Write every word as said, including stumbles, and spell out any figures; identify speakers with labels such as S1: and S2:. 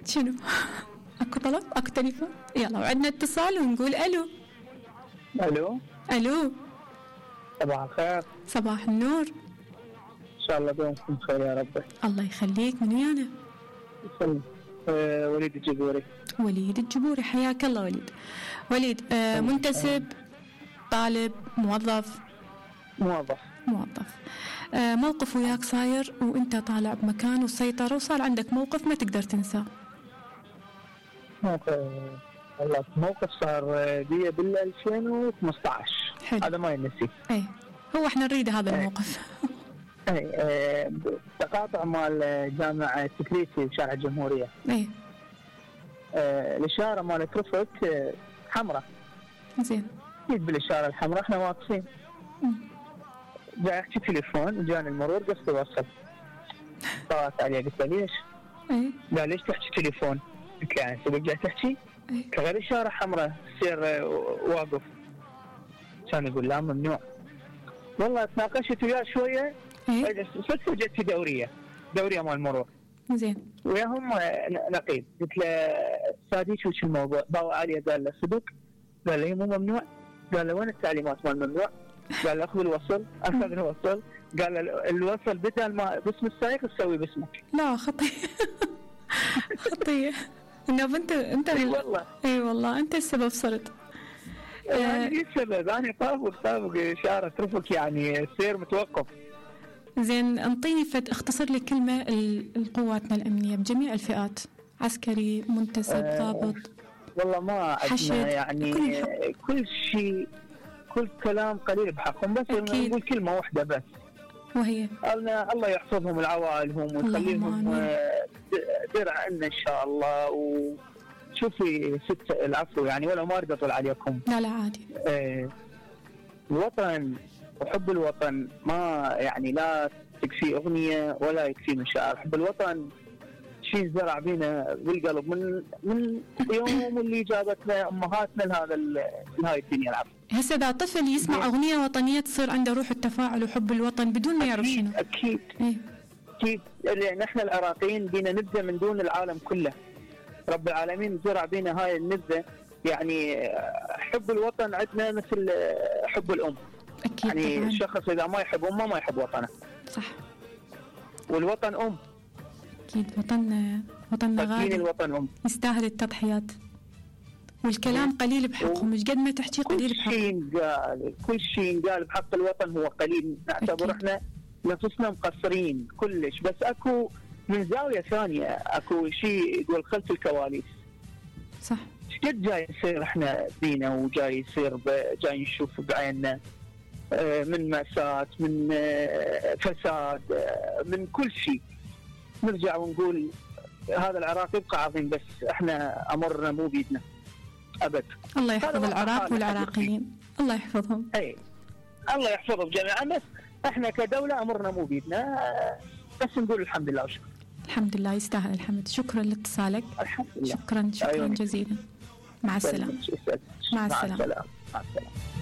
S1: شنو؟ اكو طلب؟ اكو تليفون؟ يلا وعندنا اتصال ونقول الو.
S2: الو
S1: الو
S2: صباح الخير.
S1: صباح النور.
S2: ان شاء الله دومكم بخير يا رب.
S1: الله يخليك. من ويانا؟
S2: أه وليد الجبوري.
S1: وليد الجبوري، حياك الله وليد. وليد أه منتسب، طالب، موظف؟
S2: موظف.
S1: موظف. أه موقف وياك صاير وانت طالع بمكان وسيطر وصار عندك موقف ما تقدر تنساه؟
S2: موقف والله موقف صار بي بال ألفين وخمسة عشر.
S1: حلو.
S2: هذا ما ينسي.
S1: اي هو احنا نريد هذا الموقف.
S2: اي اه تقاطع مال جامعة سكريتي بشارع الجمهورية.
S1: اي
S2: اه الاشارة مالت رفقت اه حمراء.
S1: زين.
S2: جيت بالاشارة الحمراء احنا واقفين. جاي احكي تليفون جاني المرور قصد اوصل. طلعت عليه قلت له ليش؟
S1: اي
S2: قال ليش تحكي تليفون؟ قلت له يعني سبق جاي تحكي؟ غير اشارة حمراء سير واقف. كان يقول لا ممنوع. والله تناقشت وياه شويه.
S1: ايه
S2: صدفه جت في دوريه دوريه مال المرور.
S1: زين.
S2: وياهم نقيب. قلت له سادي شو شو الموضوع؟ باوع عليه قال له صدق؟ قال لي مو ممنوع. قال له وين التعليمات مال ممنوع؟ قال له اخذ الوصل. اخذ الوصل. قال له الوصل بدل ما باسم السائق تسوي باسمك.
S1: لا خطيه. خطيه. انه انت انت
S2: اي والله.
S1: اي والله انت السبب صرت.
S2: يعني ايش السبب؟ انا طابق طابق اشاره رفق يعني سير متوقف.
S1: زين انطيني فد اختصر لي كلمه القواتنا الامنيه بجميع الفئات، عسكري، منتسب، ضابط.
S2: أه والله ما عندنا يعني كل شيء، كل كلام قليل بحقهم، بس نقول كلمه واحده بس
S1: وهي
S2: الله يحفظهم لعوائلهم ويخليهم درع عنا ان شاء الله. و شوفي ست العفو يعني ولا ما اريد اطول عليكم.
S1: لا لا عادي.
S2: آه الوطن وحب الوطن ما يعني لا تكفي اغنيه ولا يكفي مشاعر. حب الوطن شيء زرع بينا بالقلب من من يوم اللي جابتنا امهاتنا لهذا لهاي الدنيا العفو.
S1: هسه اذا طفل يسمع اغنيه وطنيه تصير عنده روح التفاعل وحب الوطن بدون ما يعرف شنو.
S2: اكيد
S1: إيه؟
S2: اكيد لان احنا العراقيين بينا نبذه من دون العالم كله. رب العالمين زرع بينا هاي النبذة. يعني حب الوطن عندنا مثل حب الأم.
S1: أكيد
S2: يعني
S1: طبعاً.
S2: الشخص إذا ما يحب أمه ما يحب وطنه.
S1: صح.
S2: والوطن أم.
S1: أكيد وطننا وطننا غالي.
S2: الوطن أم.
S1: يستاهل التضحيات. والكلام قليل بحقهم، مش قد ما تحكي قليل بحقهم.
S2: كل شيء قال كل شيء قال بحق الوطن هو قليل. نعتبر احنا نفسنا مقصرين كلش. بس اكو من زاوية ثانية اكو شيء يقول خلف الكواليس.
S1: صح.
S2: شقد جاي يصير احنا بينا وجاي يصير جاي نشوف بعيننا من مأساة، من فساد، من كل شيء. نرجع ونقول هذا العراق يبقى عظيم بس احنا امرنا مو بيدنا ابد.
S1: الله يحفظ العراق والعراقيين. الله يحفظهم.
S2: اي الله يحفظهم جميعا. بس احنا كدولة امرنا مو بيدنا. بس نقول الحمد لله وشكرا.
S1: الحمد لله يستاهل الحمد. شكرا لاتصالك.
S2: الحمد لله.
S1: شكرا شكرا
S2: أيوة.
S1: جزيلا. مع السلامة.
S2: مع السلامة.
S1: مع السلامة.
S2: مع السلامة.